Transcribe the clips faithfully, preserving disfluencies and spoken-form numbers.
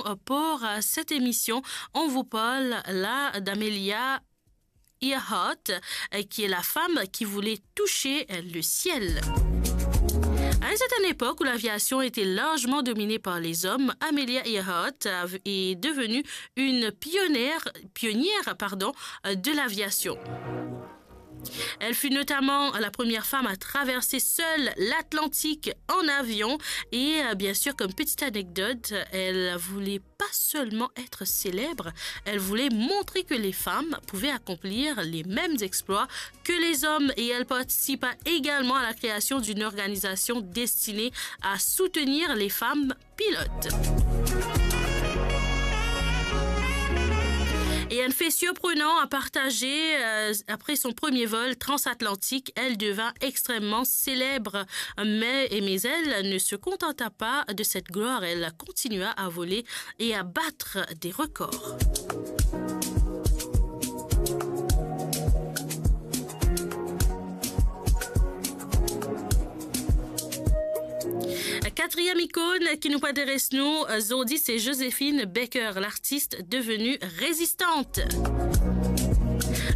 euh, pour, euh, cette émission. On vous parle là d'Amelia Earhart, euh, qui est la femme qui voulait toucher, euh, le ciel. À une certaine époque où l'aviation était largement dominée par les hommes, Amelia Earhart av-, est devenue une pionnière, pionnière, pardon, euh, de l'aviation. Elle fut notamment la première femme à traverser seule l'Atlantique en avion. Et, euh, bien sûr, comme petite anecdote, elle voulait pas seulement être célèbre, elle voulait montrer que les femmes pouvaient accomplir les mêmes exploits que les hommes. Et elle participa également à la création d'une organisation destinée à soutenir les femmes pilotes. Et un fait surprenant à partager, euh, après son premier vol transatlantique, elle devint extrêmement célèbre. Mais, mais elle ne se contenta pas de cette gloire, elle continua à voler et à battre des records. Quatrième icône qui nous intéresse, nous, aujourd'hui, c'est Joséphine Baker, l'artiste devenue résistante.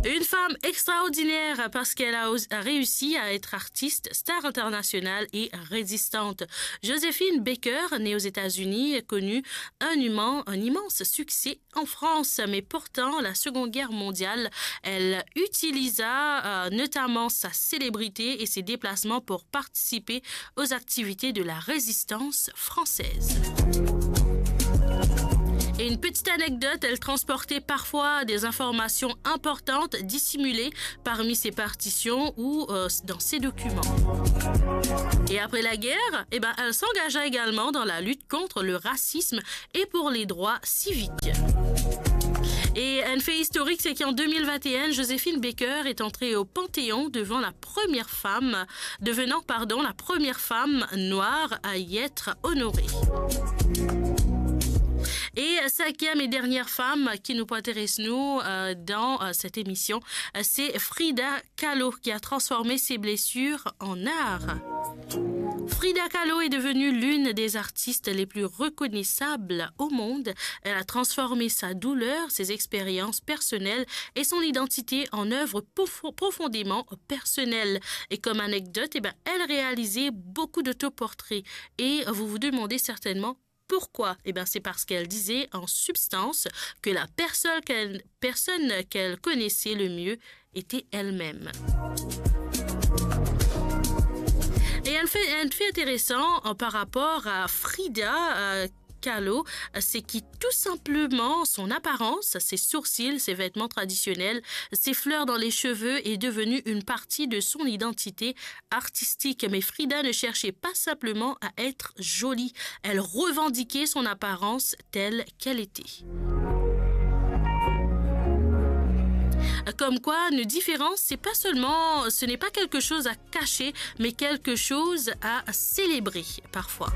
Une femme extraordinaire parce qu'elle a os-, a réussi à être artiste, star internationale et résistante. Joséphine Baker, née aux États-Unis, connut un immen-, un immense succès en France, mais pourtant, la Seconde Guerre mondiale, elle utilisa, euh, notamment sa célébrité et ses déplacements pour participer aux activités de la résistance française. Et une petite anecdote, elle transportait parfois des informations importantes dissimulées parmi ses partitions ou, euh, dans ses documents. Et après la guerre, eh ben, elle s'engagea également dans la lutte contre le racisme et pour les droits civiques. Et un fait historique, c'est qu'en deux mille vingt et un, Joséphine Baker est entrée au Panthéon devant la première femme, devenant, pardon, la première femme noire à y être honorée. Et cinquième et dernière femme qui nous intéresse, nous, euh, dans, euh, cette émission, euh, c'est Frida Kahlo qui a transformé ses blessures en art. Frida Kahlo est devenue l'une des artistes les plus reconnaissables au monde. Elle a transformé sa douleur, ses expériences personnelles et son identité en œuvres profo-, profondément personnelles. Et comme anecdote, eh ben, elle réalisait beaucoup d'autoportraits. Et vous vous demandez certainement pourquoi. Eh ben, c'est parce qu'elle disait en substance que la personne qu'elle, personne qu'elle connaissait le mieux était elle-même. Et un fait, un fait intéressant, euh, par rapport à Frida, euh, Kahlo, euh, c'est qui tout simplement son apparence, ses sourcils, ses vêtements traditionnels, ses fleurs dans les cheveux est devenue une partie de son identité artistique. Mais Frida ne cherchait pas simplement à être jolie, elle revendiquait son apparence telle qu'elle était. Comme quoi, nos différences, c'est pas seulement, ce n'est pas quelque chose à cacher, mais quelque chose à célébrer parfois.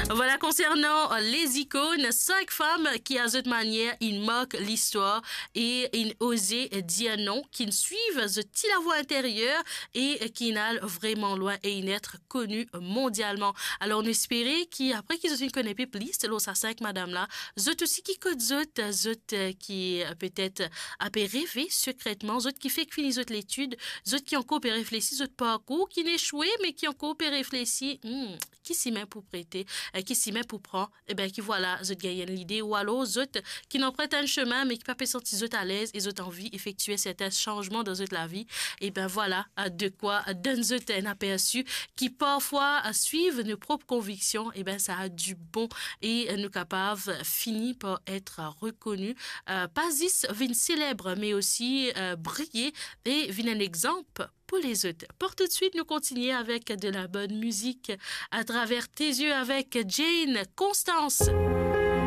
Voilà, concernant les icônes, cinq femmes ki, a zot manier, inn mark listwar e inn oze dir non, ki inn swiv zot ti lavwa interyer e ki inn al vreman lwin e inn et koni mondialman. Alor, nou espere ki, apre ki zot inn kone pe plis lor sa sink madam la, zot osi ki kot zot, zot, eh, ki, eh, petet, eh, pe reve sekretman, zot ki fek fini zot letid, zot ki ankor pe reflesi zot parkour, ki inn eswe, me ki ankor pe reflesi, hmm, ki simin pou prete, eh, ki simin pou pran, e ben, ki vwala, zot gagn enn lide, ou alor zot ki inn anpret enn semin, me ki pa pe santi zot alez e zot anvi efektie sertin sanzman dan zot lavi, e ben vwala, eh, de kwa, eh, donn zot enn apersi ki parfwa, eh, swiv nou prop konviksion, e ben, sa a di bon e, eh, nou kapav fini par et rekoni, eh, pa zis vinn seleb, me osi, eh, briye e vinn enn exanp pou lezot. Pour tout de suite, nou kontinie avek de la bonne musique à travers tes yeux avec Jane Constance.